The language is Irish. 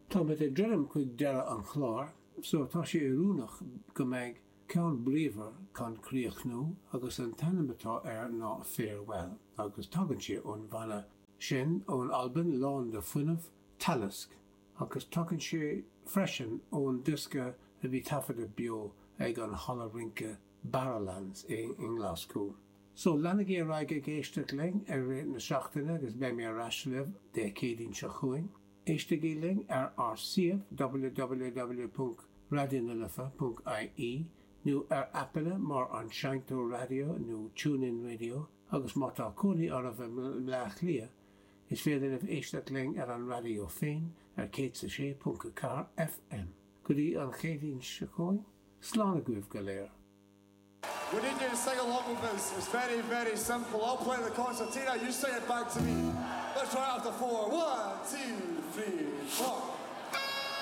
Táimid ag druidim chuig deireadh an chláir so tá sé oiriúnach go mbeidh ceann bríomhar chun críochnú agus an t-ainm atá air ná Farewell agus tagann sé ón bhanna sin ón Albain lán de fuinneamh, Talisk, agus tagann sé freisin ón diosca a bhí taifeadta beo ag an halla rince Barrowlands i nGlaschú. So, leanaigí ar aghaidh ag éisteacht linn i rith na seachtaine agus beidh mé ar ais libh Dé Céadaoin seo chugainn. Éistigí linn ar ár suíomh www.raidionalife.ie nó ar aipeanna mar An Seinnteoir Raidió nó TuneIn Radio agus má tá cónaí oraibh i mBleá Cliath is féidir libh éisteacht linn ar an raidió féin ar 106.4 FM. Go dtí an Chéadaoin seo chugainn, slán agaibh go léir. We need you to sing along with us. It's very, very simple. I'll play the concertina, you sing it back to me. Let's try it after 4. 1, 2,